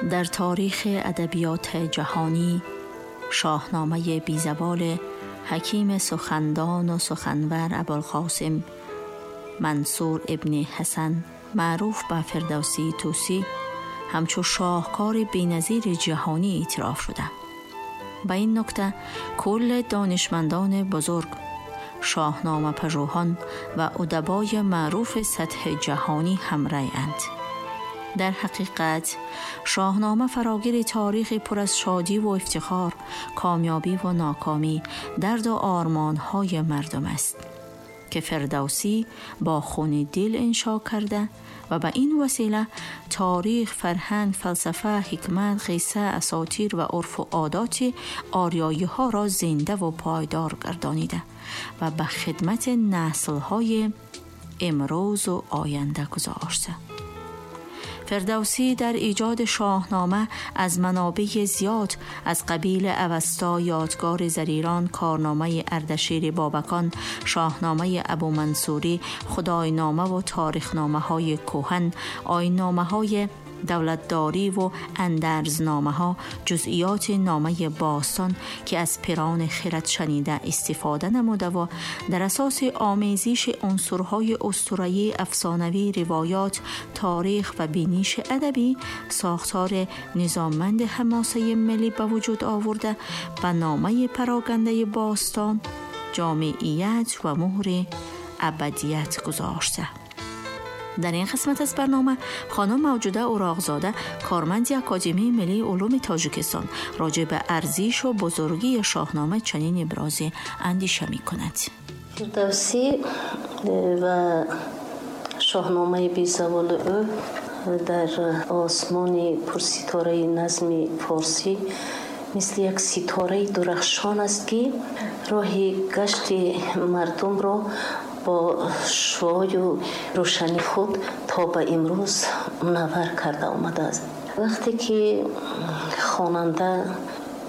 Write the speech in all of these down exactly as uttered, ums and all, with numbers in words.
در تاریخ ادبیات جهانی شاهنامه بیزوال حکیم سخندان و سخنور ابوالقاسم منصور ابن حسن معروف به فردوسی توسی همچو شاهکار بی‌نظیر جهانی اعتراف شده. به این نکته کل دانشمندان بزرگ، شاهنامه پژوهان و ادبای معروف سطح جهانی همراه اند. در حقیقت شاهنامه فراگیر تاریخ پر از شادی و افتخار، کامیابی و ناکامی، درد و آرمان‌های مردم است که فردوسی با خون دل انشا کرده و به این وسیله تاریخ، فرهنگ، فلسفه، حکمت، قصه، اساطیر و عرف و عادات آریایی ها را زنده و پایدار گردانیده و به خدمت نسل های امروز و آینده گذاشته. فردوسی در ایجاد شاهنامه از منابع زیاد از قبیل اوستا، یادگار زریران، کارنامه اردشیر بابکان، شاهنامه ابو منصوری، خداینامه و تاریخنامه های کهن، آیین‌نامه های دولتداری و اندرزنامه ها، جزئیات نامه باستان که از پیران خرد شنیده استفاده نموده و در اساس آمیزش عنصرهای اسطوره‌ای، افسانوی، روایات، تاریخ و بینش ادبی ساختار نظاممند حماسه ملی به وجود آورده و نامه پراگنده باستان جامعیت و مهر ابدیت گذاشته. در این قسمت از برنامه خانم موجوده اوراقزاده، کارمند اکادمی ملی علوم تاجیکستان، راجع به ارزش و بزرگی شاهنامه چنین ابراز اندیشه می کند. فردوسی و شاهنامه بی‌زوال او در آسمان پرستاره نظم فارسی مثل یک ستاره درخشان است که راه گشت مردم را با شعاع و روشنی خود تا به امروز منور کرده آمده است. وقتی که خواننده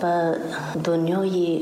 به دنیای